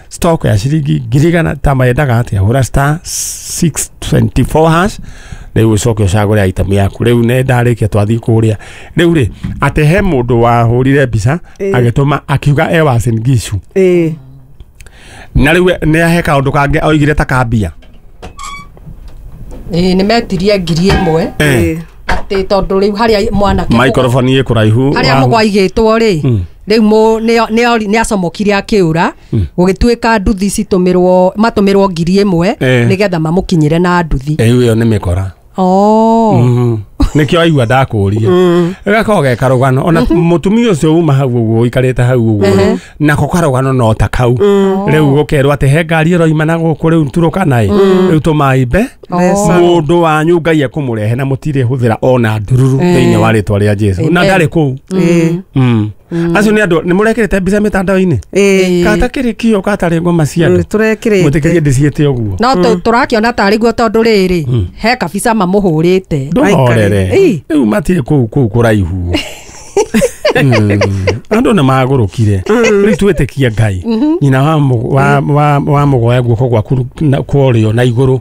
Stock ya ciringi 100,000 ta mayendaga atia? Hũra *624# rĩu ũcoke ũcagũre item yaku. Rĩu nĩ ndarĩkia twathiĩ kũrĩa rĩu rĩ atĩ he mũndũ wahũrire mbica agĩtũma akiuga e Uasin Gishu na rĩu nĩ ahe kaũndũ kangĩ oigire ta kambia. Ĩĩ, nĩ metirie 1,000 atĩ tondũ rĩu harĩa mwanake microphone ĩ kũraihu harĩa mũgwaigĩtwo rĩ rĩu nĩ acomokire akĩũra gũgĩtuĩka nduthi citũmĩrwo matũmĩrwo 1,000 nĩgetha mamũkinyĩre na nduthi. Rĩu ĩyo nĩ mĩkora. Nĩkĩo aigua ndakũria gagakorwo ge karũgano ona mũtumia ũcio uma hau ũguo ũikarĩte hau ũguo nako karũgano no ta kau. Rĩu gũkerwo atĩ he ngari ĩroima na gũkũ rĩu Turukana ĩ rĩu tũmaimbe mũndũ wanyu Ngai ekũmũrehe na mũtirĩ hũthĩra ona ndururu thĩinĩ wa rĩtwa rĩa Jesu na ndarĩ kũu. Acio nĩ andũ nĩ mũrekĩrĩte mbica mĩtandao-inĩ kata kĩrĩ kĩo katarĩ ngoma cia andũ mũtĩkĩrie ndĩciĩte ũguo no tũrakĩona tarĩ guo tondũ rĩrĩ he kabica mamũhũrĩte ndũhorere rĩu matirĩ kũu kũu kũraihu. Andũ nĩ magũrũkire rĩu twĩtĩkie Ngai nyina wa mũgoya guoko gwaku kwa ũrĩo na igũrũ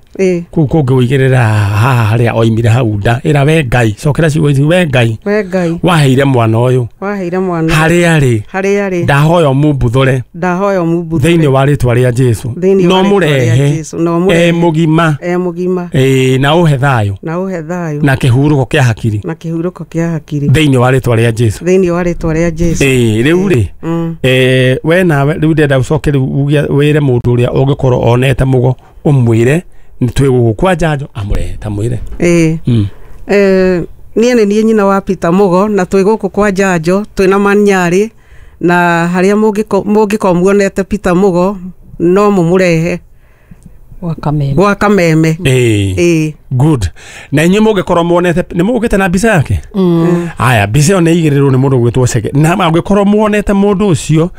kũu kũngĩ ũigĩrĩra haha harĩa oimire hau nda ĩra we Ngai cokera ciugo ici we Ngai waheire mwana ũyũ harĩa arĩ ndahoya ũmumbuthũre thĩinĩ wa rĩtwa rĩa Jesu no mũrehe e mũgima na ũhe thayũ na kĩhurũko kĩa hakiri thĩinĩ wa rĩtwa rĩa Jesu. Rĩu rĩ we nawe rĩu ndĩrenda ũcoke rĩu wĩre mũndũ ũrĩa ũngĩkorwo onete mũgo ũmwĩre nĩ twĩ gũkũ kwa njanjo amũrehe ta mwĩre. Niĩ nĩ niĩ nyina wa Peter Mugo na twĩ gũkũ kwa njanjo twĩna Manyarĩ na harĩa mũngĩkorwo muonete Peter Mugo no mũmũrehe gwa Kameme. Good. Na inyuĩ mũngĩkorwo muonete nĩ mũgũkĩte na mbica yake. Aya mbica ĩyo nĩ igĩrĩrwo nĩ mũndũ ũgwĩtwo Chege na angĩkorwo muonete mũndũ ũcio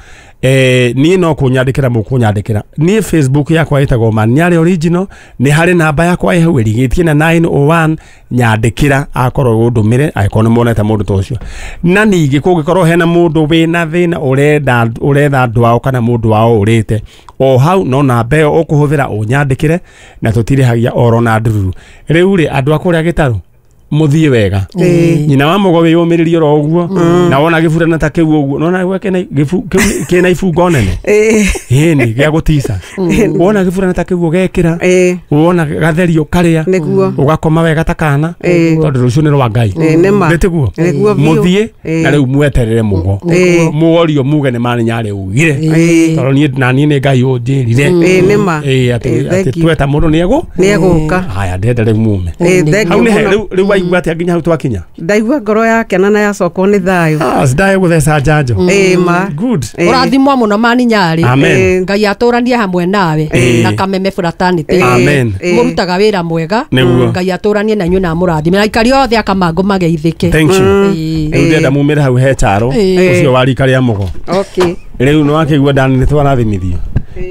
niĩ no kũnyandĩkĩra mũkũnyandĩkĩra. Niĩ Facebook yakwa ĩtagwo Manyarĩ Original nĩ harĩ namba yakwa ĩ hau ĩrigĩtie na 901 nyandĩkĩra akorwo ũndũmĩre angĩkorwo nĩ muonete mũndũ ta ũcio. Na ningĩ kũngĩkorwo hena mũndũ wĩna thĩna ũretha andũ ao kana mũndũ wao ũrĩte o hau no namba ĩyo ũkũhũthĩra ũnyandĩkĩre na tũtirĩhagia oro na ndururu. Rĩu rĩ andũ a kũrĩa gĩtarũ mũthiĩ wega nyina wa mũgo wĩyũmĩrĩrie oro ũguo na wona gĩburana ta kĩu ũguo nona gwake kĩna ibungo nene ĩni gĩa gũtica wona gĩburana ta kĩu ũgekĩra wona gatherio karĩa ũgakoma wega ta kana tondũ rũciũ nĩ rwa Ngai nĩtiguo mũthiĩ na rĩu mweterere mũgo mũorio muge nĩ Manyarĩ ugire tondũ niĩ na niĩ nĩ Ngai ũnjĩrire atĩ tweta mũndũ nĩegũka. Haya ndĩrenda rĩu mume hau nĩ rĩu waigua atĩa nginya hau twakinya? Ndaigua ngoro yakena na yacokwo nĩ thayũ. Ndaye gũtheca njanjo. Good. Ũrathimwo mũno Manyarĩ. Ngai atũranie hamwe nawe na Kameme Fraternity. Mũrutaga wĩra mwega. Ngai atũranie na inyuĩ na amũrathime na aikari othe a Kamangũ mageithĩke. Thank you. Rĩu ndĩrenda mumĩre hau he Charo ũcio wa rika rĩa Mũgo. Rĩu nĩ wakĩigua Dani nĩ twarathimithio.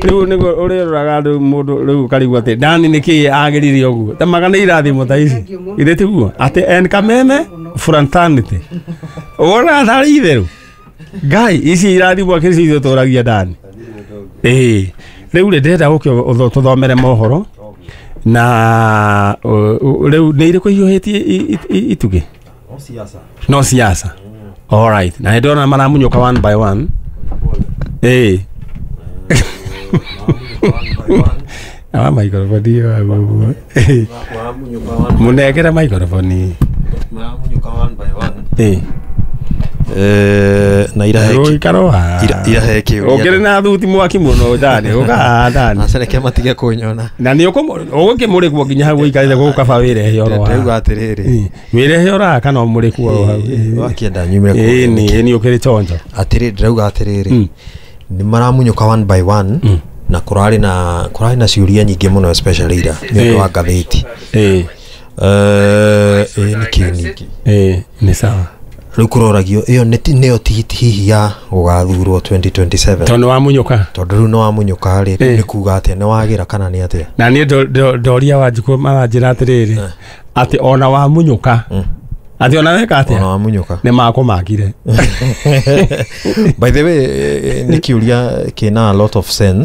Rĩu nĩguo ũrĩroraga rĩu mũndũ rĩu ũkarigwo atĩ Dani nĩkĩĩ agĩrire ũguo ta magana irathimo ta ici githĩ tiguo atĩ en Kameme Fraternity wona tarĩ itherũ Ngai ici irathimo akĩrĩ ithuĩ tũragia Dani. Rĩu rĩ ndĩrenda ũke tũthomere mohoro na rĩu nĩ irĩkũ ihiũhĩtie itugĩ? No siasa. All right. Na ndĩrona maramunyũka one by one. Awa microphone hiyo aguo. Munengere microphone. Maramunyuka one by one. Na irahe kĩũria. Ũkĩrĩ na thuti mwaki mũno Dani, ũka Dani. Acereke matige kũnyona. Na nĩ ũgũkĩmũrĩkwo nginya hau ũikarĩte gũkũ kaba wĩrehe oro haha. Ndauga atĩrĩrĩ. Wĩrehe oro haha kana ũmũrĩkwo oro hau. Wakĩenda nyumĩre kũu. Ĩĩ nĩ ũkĩrĩ chonjo. Atĩrĩrĩ ndĩrauga atĩrĩrĩ. Nĩ maramunyũka one by one na kũrarĩ na ciũria nyingĩ mũno especially ira nĩ ũndũ wa ngathĩti. Nĩ kĩ ningĩ? Nĩ sawa. Rĩu kũroragio ĩyo nĩyo tigiti hihi ya gũgathurwo 2027 tondũ wamunyũka tondũ rĩu nĩ wamunyũka rĩ nĩ kuga atĩa nĩ wagĩra kana nĩ atĩa? Na niĩ ndoria Wanjikũ maranjĩra atĩrĩrĩ atĩ ona wamunyũka Atĩ ona weka Ona atĩa? wamunyũka. Nĩ makũmakire. By the way, nĩ kĩũria kĩna a lot of sense.